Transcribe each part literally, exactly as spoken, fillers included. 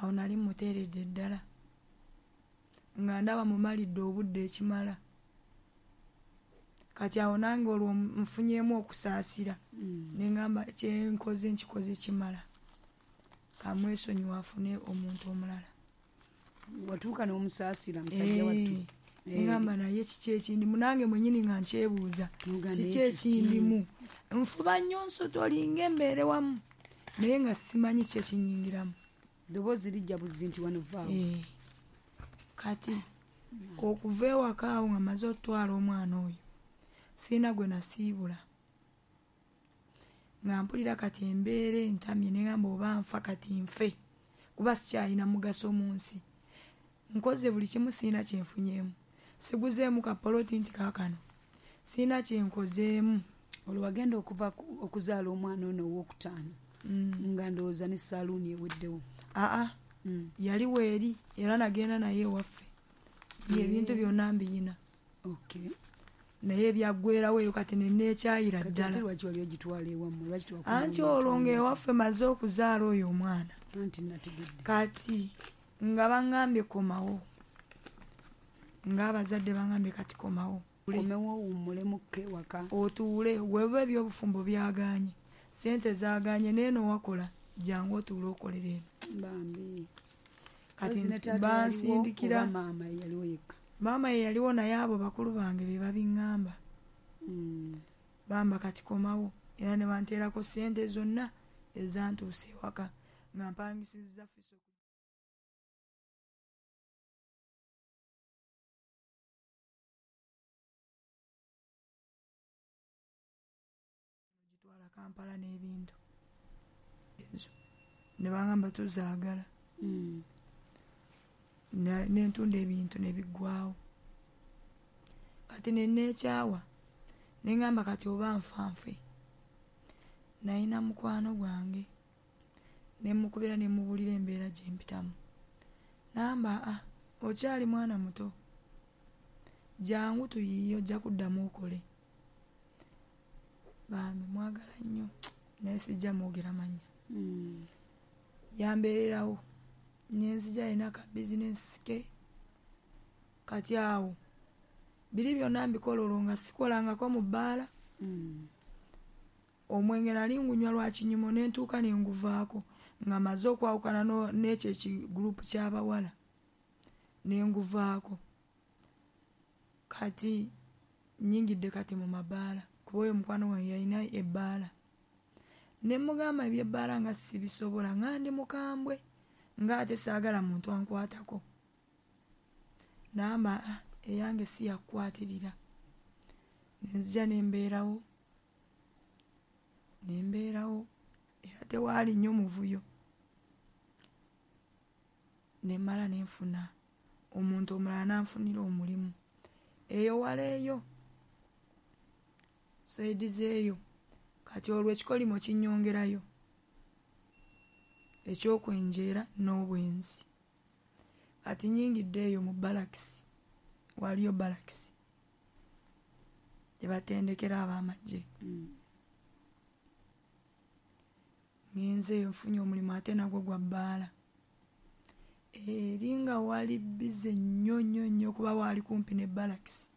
Awo nali muteeredde ddala nga ndaba mumalidde obudde ekimala. Kati awo nange olwo nfunyeemu okusaasira, Mm. ne ŋŋamba kyenkoze nkikoze kimala, kamwesonyiwe afune omuntu omulala. Watuuka n'omusaasira musajja wattu. Eh, ne ŋŋamba naye kiki ekindimu, nange mwennyini nga nkyebuuza N'ogamba kiki naye kiki? ekindimu. Nfuba nnyo nsotolinga embeere wamu, naye nga simanyi ki ekinnyingiramu. Ddoboozi lijja buzzi nti wano vaawo. Eh. Kati okuva ewaka awo nga mmaze okutwala omwana oyo, sirina gwe nasiibula. Nga mpulira kati embeera entamye, ne ŋŋamba oba nfa kati nfe, kuba sikyalina mugaso mu nsi. Nkoze buli kimu sirina kye nfunyeemu. Siguzeemu kapoloti nti kaakano. Sirina kye nkozeemu. Olwo wagenda okuva ku-, okuzaala omwana ono owookutaano, Mm. nga ndowooza ne saaluuni eweddewo. Aa, Mm. yali weeri era nagenda naye ewaffe. Ebintu Eh. byonna mbiyina. Okay. Naye byaggweerawo eyo kati ne neekyayira Kati ddala. ate lwaki wali ogitwala ewammwe? Lwaki tewakoma Anti mu olwo mitwalo? ng'ewaffe maze okuzaala oyo omwana. Anti nategedde. Kati nga baŋŋambye komawo. Ng'abazadde baŋŋambye kati komawo. Komewo owummulemukko ewaka. Otuule, weeba ebyobufumbo byagaanye. Ssente zaagaanye n'eno wakola, jangu otuule okolere eno. Bambi. Kati Ozzi ne taata bansindikira. yaliwo oba maama ye yaliwo yekka? Maama ye yaliwo naye abo bakulu bange be babiŋŋamba. Mm. Bamba kati komawo. Era ne banteerako ssente zonna ezantuusa ewaka nga mpangisizza Fiso. Gitwala Kampala n'ebintu. Ezo. Ne bangamba tuzaagala. Mm. Ne, ne ntunda ebintu ne biggwaawo. Kati ne neekyawa. Ne ŋŋamba kati oba nfa nfe. Nalina mukwano gwange. Ne mmukubira ne mmubuulira embeera gye mpitamu. N'amba, ah, okyali mwana muto. Jangu tuyiiye ojja kuddamu okole. Bambi mwagala nnyo naye sijja mwogera mannya. Mm. Yambeererawo. Ne nzija alina ka bizinensi ke. Kati awo biri byonna mbikola olwo nga sikolangako mu bbaala. Mm. Omwenge nali ngunywa lwa kinyumo ne ntuuka ne nguvaako nga mmaze okwawukana no-, n'ekyo ekigurupu ky'abawala ne nguvaako. Kati nnyingidde kati mu mabaala kuba oyo mukwano gwange yalina ebbaala. Ne mmugamba eby'ebbaala nga sibisobola, nga ndi mukambwe, ng'ate saagala muntu ankwatako. N'amba, ah, eyange si yakukwatirira. Ne nzija ne mbeerawo. Ne mbeerawo era tewaali nnyo muvuyo. Ne mmala ne nfuna omuntu omulala n'anfunira omulimu. Eyo wala eyo, sayidi z'eyo. Kati olwo ekikolimo kinnyongerayo. Ekyokwenjeera n'obwenzi. Kati nnyingidde eyo mu balakisi. Waliyo balakisi gye batendekera ab'amagye. Mm. Ngenze eyo nfunye omulimu ate nagwo gwa bbaala. Eri nga wali bbize nnyo nnyo nnyo kuba waali kumpi ne balakisi.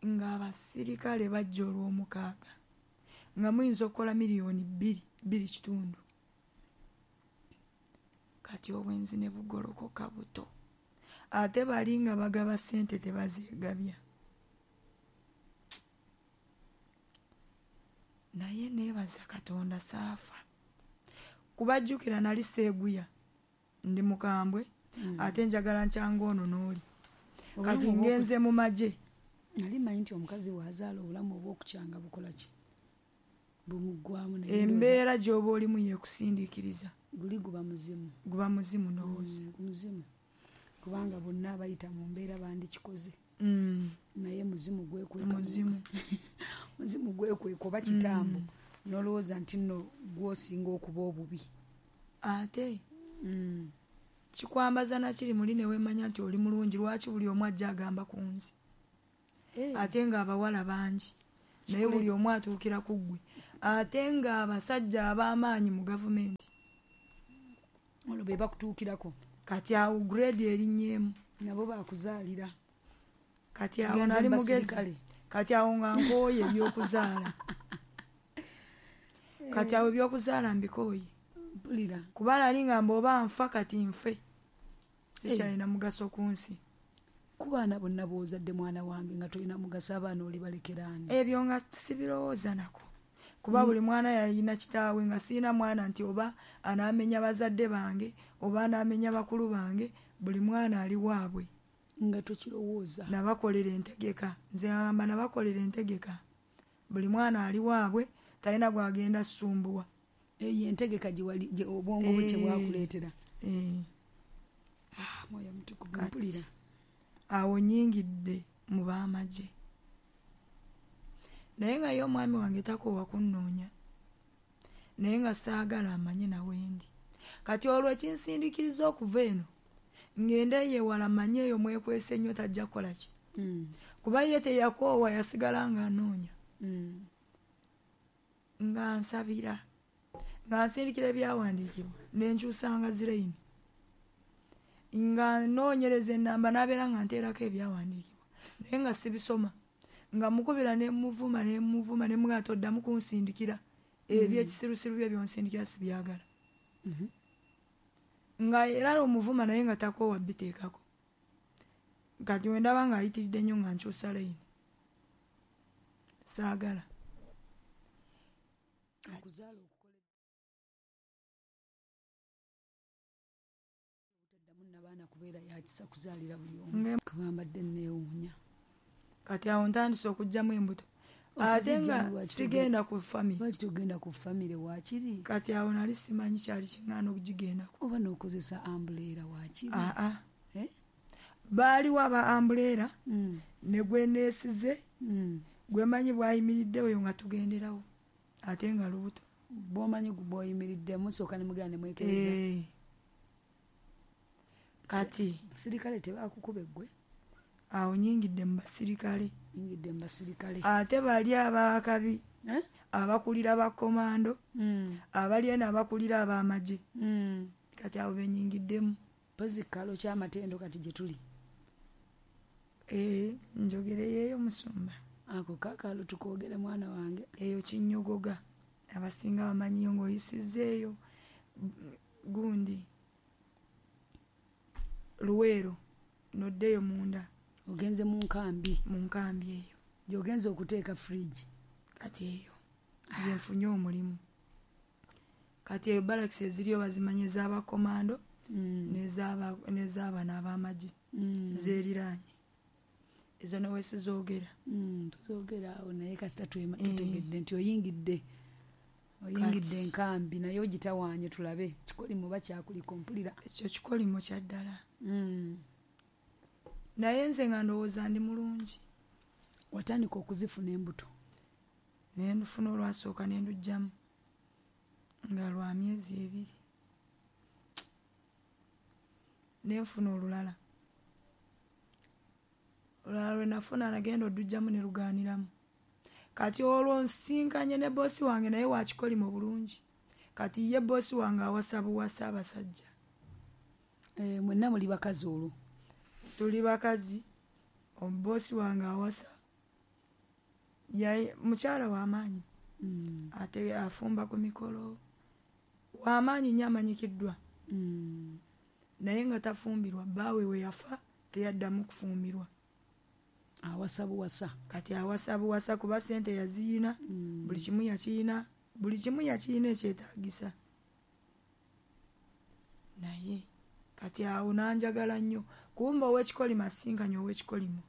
Ng'abasirikale bajja olw'omukaaga. Nga muyinza okukola miliyoni bbiri, bbiri kitundu. Kati obwenzi ne bugolokoka buto. Ate bali nga bagaba ssente tebazeegabya. Naye neebaza Katonda saafa. Kubajjukira nali seeguya. Ndi mukambwe, Mm. ate njagala nkyanga ono n'oli. Obulamu Kati obw'oku- ngenze mu magye. Nali mmanyi nti omukazi bw'azaala obulamu obw'okukyanga bukola ki? Bumuggwamu naye Embeera gy'oba olimu yeekusindiikiriza. Guli guba muzimu. Guba muzimu ndowooza. Mm, muzimu. Kubanga bonna abayita mu mbeera bandikikoze. Mm. Naye muzimu gwekweka. Muzimu. Muzimu gwekweka oba kitambo. Mm. N'olowooza nti nno gw'osinga okuba obubi. Ate Mm. kikwambaza nakiri muli ne weemanya nti oli mulungi, lwaki buli omu ajja agamba ku nze? Eh. Ate ng'abawala bangi. Naye Kikule- buli omu atuukira ku ggwe. Ate ng'abasajja ab'amaanyi mu gavumenti. Olwo be bakutuukirako. Kati awo grade erinnyemu. Nabo bakuzaalira. Kati awo nali mugezi. Kati awo nga nkooye ebyokuzaala. Kati awo ebyokuzaala mbikooye. Mpulira. Kuba nali ngamba oba nfa kati nfe. Sikyalina mugaso ku nsi. Ku baana bonna b'ozadde mwana wange nga tolina mugaso, abaana olibalekera ani? Ebyo nga sibirowooza nako. Kuba buli mwana yalina kitaawe, nga sirina mwana nti oba anaamenya bazadde bange oba anaamenya bakulu bange, buli mwana ali waabwe. Nga tokirowooza. Nabakolera entegeka. Nze ngamba nabakolera entegeka. Buli mwana ali waabwe, talina gw'agenda ssumbuwa. Eyo entegeka gye wali, gye obwongo bwe kye bwakuleetera. Eh. Ah, mwoyo mutukuvu mpulira. Awo nnyingidde mu b'amagye. Naye nga ye omwami wange takoowa kunnoonya. Naye nga saagala amanye nawe ndi. Kati olwo ekinsindikiriza okuva eno, ngende ewala manye eyo mwekwese nnyo tajja kukola ki. Mm. Kuba ye teyakoowa, yasigala ng'anoonya. Mm. Nga nsabira. Nga nsindikira ebyawandiikibwa, ne nkyusanga zirayini. Nga nnoonyereza ennamba n'abeera nga nteerako ebyawandiikibwa. Naye nga sibisoma. Nga mukubira ne muvuma ne muvuma ne mugamba toddamu kunsindikira. Ebyekisirusiru bye by'onsindikira sibyagala. Mm-hmm. Nga era omuvuma naye nga takoowa biteekako. Kati we ndaba ng'ayitiridde nnyo nga nkyusa layini. Saagala. Okuzaala okukola obutaddamu nnabaana kubeera yakisa kuzaalira buli omu. Kuba mbadde neewuunya. Kati awo ntandise okuggyamu embuto. Ate nga sigenda ku famire. Lwaki togenda ku famire waakiri? Kati awo nali simanyi kyali kiŋŋaana okugigendako. Oba n'okozesa ambuleera waakiri? Aa. Eh? Baaliwo aba ambuleera Mm. ne gwe neesize, Mm. gwe mmanyi bw'ayimiridde oyo nga tugenderawo. Ate nga lubuto. Bw'omanyi bw'oyimiridde musooka ne mugenda ne mwekereza. Eh. Kati Basirikale tebakukuba eggwe? Awo nnyingidde mu basirikale. Nnyingidde mu basirikale. Ate bali ab'akabi. Eh? Abakulira bakomando. Mm. Abali eno abakulira ab'amagye. Mm. Kati abo be nnyingiddemu. Mpozzi kalo ky'amatendo kati gye tuli. Eh, njogereyo musumba. Ako kaakalo tukoogere mwana wange. Eyo kinnyogoga. Abasinga bamanyiyo ng'oyisizzeeyo gundi Luweero n'oddeyo munda. Ogenze mu nkambi. Mu nkambi eyo. Gy'ogenze okuteeka fridge. Kati eyo gye nfunye omulimu. Kati eyo barracks eziriyo bazimanyi ez'abakomando Mm. n'ez'aba-, n'ez'abano ab'amagye. Mm. Zeeriraanye. Ezo ne we sizoogera. Mm, tuzoogera awo naye kasita twema-, Eh. tutegedde nti oyingidde. Oyingidde Kati. enkambi naye ogitawaanye tulabe. Kikolimo oba kyakuliko mpulira. Ekyo kikolimo kya ddala. Mm. Naye nze nga ndowooza ndi mulungi. Watandika okuzifuna embuto? Ne ndufuna olwasooka ne nduggyamu nga lwa myezi ebiri. Ne nfuna olulala. Olulala lwe nafuna nagenda oduggyamu ne lugaaniramu. Kati olwo nsinkanye ne boosi wange naye wa kikolimo bulungi. Kati ye boosi wange awasa buwasa abasajja. Eh, mwenna muli bakazi olwo? Tuli bakazi. Boosi wange awasa. Yaye mukyala w'amaanyi. Mm. Ate afumba ku mikolo. W'amaanyi nnyo amanyikiddwa. Mm. Naye nga tafumbirwa, bbaawe we yafa teyaddamu kufumbirwa. Awasa buwasa. Kati awasa buwasa kuba ssente yaziyina, Mm. buli kimu yakiyina, buli kimu yakiyina ekyetaagisa. Naye kati awo n'anjagala nnyo. Kumba ow'ekikolimo asinkanye ow'ekikolimo.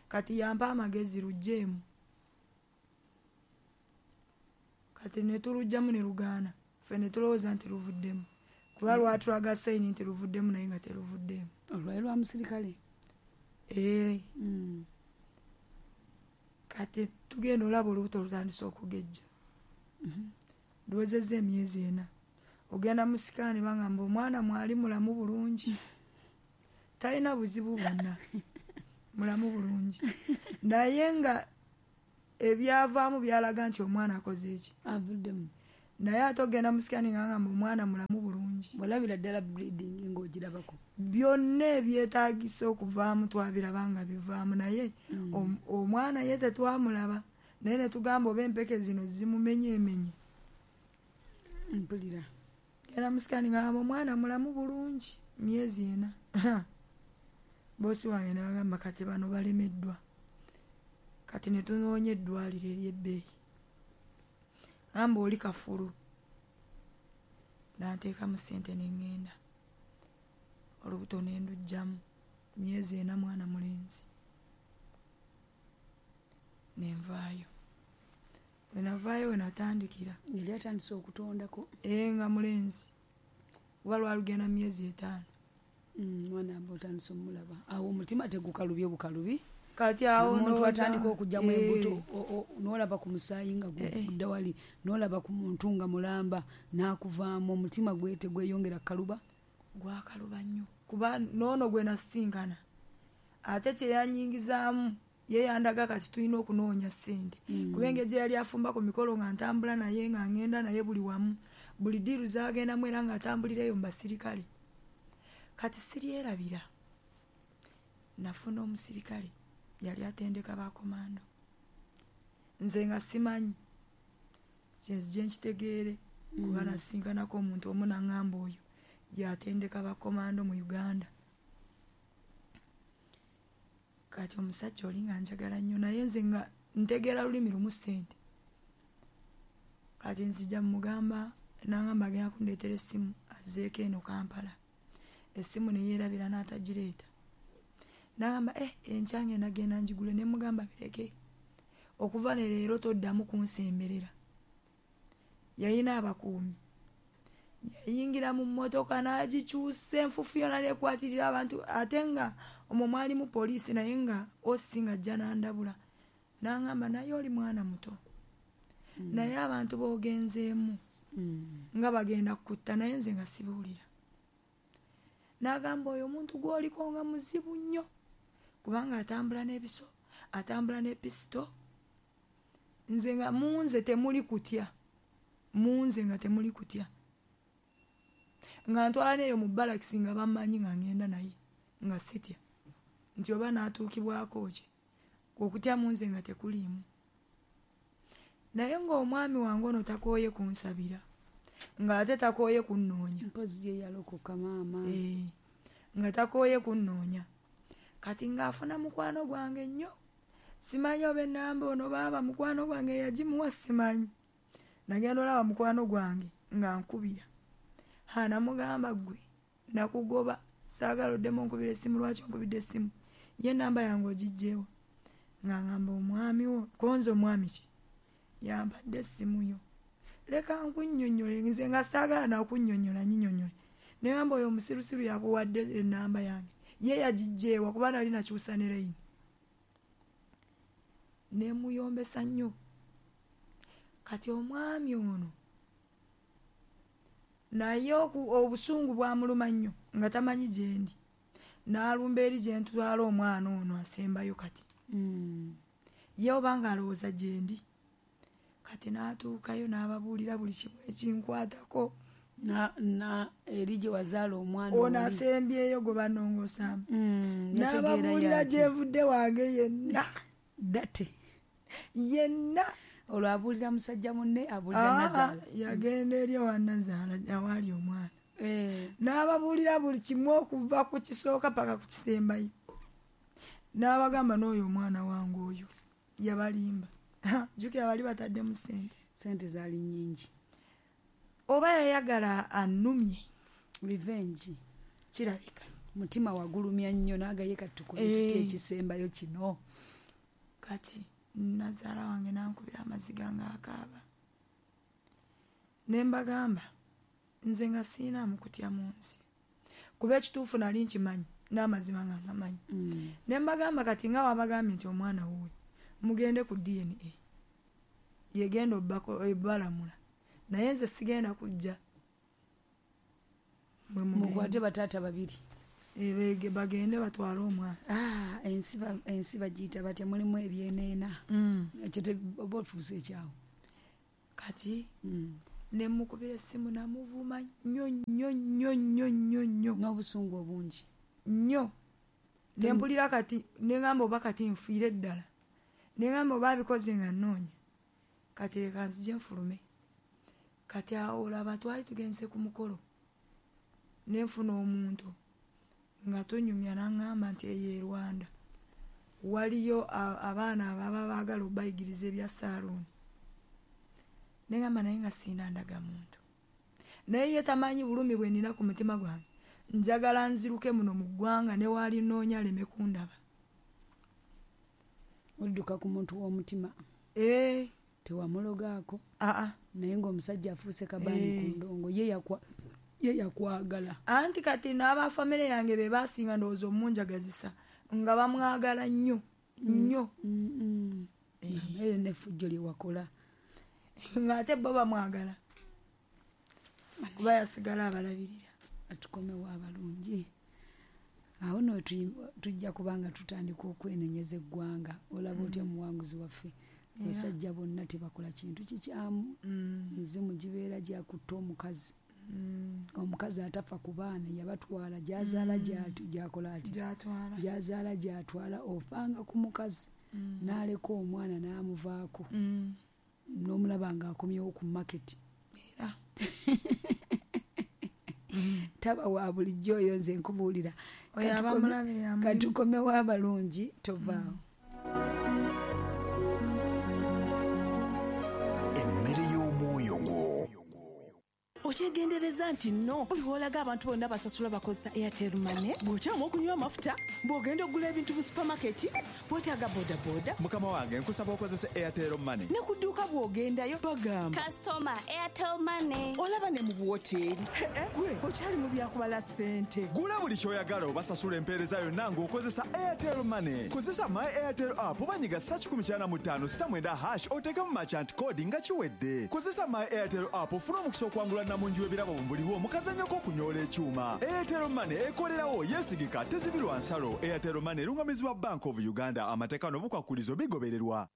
Kati yampa amagezi luggyeemu. Kati ne tuluggyamu ne lugaana. Ffe ne tulowooza nti luvuddemu. Kuba lwatulaga sayini nti luvuddemu naye nga teruvuddeemu. Olwali lwa musirikale? Eh. Mm. Kati tugenda olaba olubuto lutandise okugejja. Mm-hmm. Luwezezza emyezi ena. Ogenda mu sikaani bangamba omwana mwali mulamu bulungi. Talina buzibu bwonna. Mulamu bulungi. Naye nga ebyavaamu byalaga nti omwana akoze eki? Avuddemu. Naye ate ogenda mu sikaani nga ngamba omwana mulamu bulungi. bulungi. Walabira ddala bleeding ng'ogirabako? Byonna ebyetaagisa okuvaamu twabiraba nga bivaamu, naye mm. omwana ye tetwamulaba, naye ne tugamba oba empeke zino zimumenyeemenye. Mpulira. Genda mu scan nga omwana mulamu bulungi myezi ena. Bosi wange n'agamba kati bano balemeddwa, kati ne tunoonya eddwaliro ery'ebbeeyi. Gamba oli kafulu, n'anteekamu ssente ne ŋŋenda, olubuto ne nduggyamu myezi ena, mwana mulenzi, ne nvaayo. Bwe navaayo we natandikira. Yali atandise okutondako? Ee, nga mulenzi, kuba lwalugenda myezi etaano. Mwana aba otandise omulaba. Awo omutima tegukalubye bukalubi? Kati awo omuntu atandika okuggyamu embuto, n'olaba ku musaayi nga gudda wali, n'olaba ku muntu nga mulamba n'akuvaamu, omutima gwe tegweyongera kukaluba? Gwakaluba nnyo, kuba n'ono gwe nasisinkana ate kye yannyingizaamu ye yandaga kati tulina okunoonya ssente, kuba engeri gye yali afumba ku mikolo nga ntambula naye, nga ŋŋenda naye buli wamu, buli ddiiru z'agendamu era ng'atambulira eyo mu basirikale. Kati siryerabira, nafuna omusirikale yali atendeka bakomando, nze nga simanyi kyenzije nkitegeere, kuba nasisinkanako omuntu omu n'aŋŋamba oyo yatendeka bakomando mu Uganda. Kati omusajja oli nga njagala nnyo, naye nze nga ntegeera lulimi lumu ssente. Kati nzija mugamba, n'aŋŋamba agenda kundeetera essimu azzeeko eno Kampala. Essimu ne yeerabira n'atagireeta. N'agamba eh, enkya ngenda genda ngigule. Ne mugamba bireke, okuva ne leero toddamu kunsemberera. Yalina abakuumi, yayingira mu mmotoka n'agikyusa enfuufu yonna n'ekwatirira abantu, ate nga omwo mwalimu poliisi, naye nga osi ng'ajja n'andabula n'aŋŋamba naye oli mwana muto, naye abantu b'ogenzeemu nga bagenda kukutta, naye nze nga sibuulira. N'agamba oyo omuntu gw'oliko nga muzibu nnyo, kubanga atambula n'ebiso, atambula ne pisito. Nze nga mu nze temuli kutya, mu nze nga temuli kutya, nga ntwala n'eyo mu balakisi nga bammanyi nga ŋŋenda naye nga sitya nti oba n'atuukibwako ki, okutya mu nze nga tekuliimu. Naye ng'omwami wange ono takooye kunsabira, ng'ate takooye kunnoonya. Mpozzi ye yalokoka maama. Ee, nga takooye kunnoonya. Kati ng'afuna mukwano gwange nnyo, simanyi oba ennamba ono baaba mukwano gwange yagimuwa simanyi. Nagenda olaba mukwano gwange nga nkubira. Ha, namugamba ggwe nakugoba, saagala oddemu onkubira essimu, lwaki onkubidde essimu? Ye ennamba yange ogiggyeewa? Nga ngamba omwami wo, konze omwami ki? Yampadde essimu yo. Leka nkunnyonnyole, nze nga saagala nakunnyonnyola nnyinyonnyole. Ne ngamba oyo omusirusiru yakuwadde ennamba yange, ye yagiggyeewa kuba nali nakyusa ne layini. Ne muyombesa nnyo. Kati omwami ono naye obusungu bwamuluma nnyo nga tamanyi gye ndi, n'alumba eri gye ntwala omwana ono asembayo kati. Mm. Ye oba ng'alowooza gye ndi. Kati n'atuukayo n'ababuulira buli kimu ekinkwatako. Na, na eri gye wazaala omwana ono asembyeyo gwe banongoosaamu. Mm, n'ababuulira gye nvudde wange yenna. Date. Yenna. Olwo abuulira musajja munne, abuulira Nazaala. Yagenda eri ewa Nazaala awaali omwana. Eh. N'ababuulira buli kimu okuva ku kisooka paka ku kisembayo. N'abagamba n'oyo omwana wange oyo yabalimba. Jjukira bali bataddemu ssente. Ssente zaali nnyingi. Oba yayagala annumye. Revenge. Kirabika. Mutima wagulumya nnyo n'agaye kati tukole tutya ekisembayo kino. Kati nazaala wange n'ankubira amaziga ng'akaaba. Ne mbagamba nze nga siinaamu kutya mu nsi, kuba ekituufu nali nkimanyi n'amazima nga ngamanyi. Mm. Ne mbagamba kati nga wabagambye nti omwana wuwe mugende ku D N A yegenda obbalamula, naye nze sigenda kujja. Mukwate bataata babiri. Ebege bagende batwale omwana. Ah, ensi ensi bagiyita batya, mulimu ebyeneena. Mm. Ekyo oba ofuuse ekyawo. Kati mm. Nemukubira essimu namuvuma nnyo nnyo nnyo nnyo nnyo nnyo n'obusungu obungi nnyo. Nempulira kati neŋŋamba oba kati nfiire ddala, neŋŋamba oba abikoze nga nnoonya, kati leka nzije nfulume. Kati awo olaba twali tugenze ku mukolo, nenfuna omuntu nga tunyumya n'aŋŋamba nti eyo e Rwanda waliyo abaana ababa baagala obayigiriza ebya saaluuni. Neŋŋamba naye nga sirina ndagamuntu, naye ye tamanyi bulumi bwe nnina ku mutima gwange. Njagala nziruke muno mu ggwanga ne waali nnoonya aleme kundaba. Odduka ku muntu w'omutima. Ee. Tewamulogaako. Aa. Naye ng'omusajja afuuse kabaani ku ndongo, ye yakwa ye yakwagala. Anti kati n'abafamire yange be baasinga ndowooza omunjagazisa nga bamwagala nnyo nnyo. Eyo n'effujjo lye wakola. Ng'ate bo bamwagala kuba yasigala abalabirira. Atukomewo abalungi. Awo nno tujja kubanga tutandika okwenenyeza eggwanga. Olaba otya omuwanguzi waffe. Abasajja bonna tebakola kintu kikyamu. Mizimu gibeera gyakutta omukazi. Omukazi atafa ku baana yabatwala, gy'azaala gy'akola ati, gy'azaala gy'atwala. Ofanga ku mukazi n'aleka omwana n'amuvaako, n'omulaba ng'akomyewo ku maketi. Era taba wa bulijjo oyo nze nkubuulira. Katukomewo abalungi, tovaawo. Emmere y'omwoyo gwo. Okyegendereza nti nno buli w'olaga abantu bonna basasula bakozesa Airtel Money, bw'okyama okunywa amafuta, bw'ogenda okugula ebintu mu supamaketi, weetaaga bodaboda. Mukama wange nkusaba okozese Airtel Money. Ne ku dduuka bw'ogendayo bagamba Customer Airtel Money. Olaba ne mu buwoteeri. Gwe okyali mu byakubala ssente. Gula buli ky'oyagala obasasula empeereza yonna ng'okozesa Airtel Money. Kozesa My Airtel app oba nyiga ssa kikumi kyana mu ttaano sita mwenda hash oteekemu merchant code nga kiwedde. Kozesa My Airtel app ofune omukisa okwangula namungi w'ebirabo buliwo mu kazannyo k'okunyoola ekyuma. Airtel Money ekolerawo, yeesigika, tezibirwa nsalo. Airtel Money erungamizibwa Bank of Uganda. Amateeka n'obukwakulizo bigobererwa.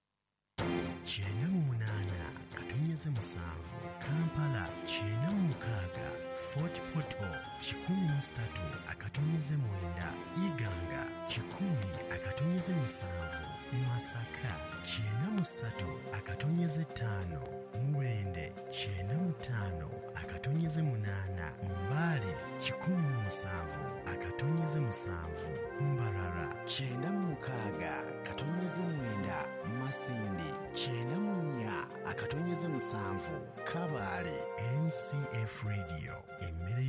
Kyenda mu munaana katonyeze musanvu Kampala, kyenda mu mukaaga Fort Portal, kikumi mu ssatu akatonyeze mwenda Iganga, kikumi akatonyeze musanvu Masaka, kyenda mu ssatu akatonyeze ttaano Mubende, kyenda mu ttaano akatonyeze munaana Mbale, kikumi mu musanvu akatonyeze musanvu Mbarara, kyenda mu mukaaga katonyeze mwenda Masindi, kyenda mu nnya akatonyeze musanvu Kabale. M C F Radio, emmere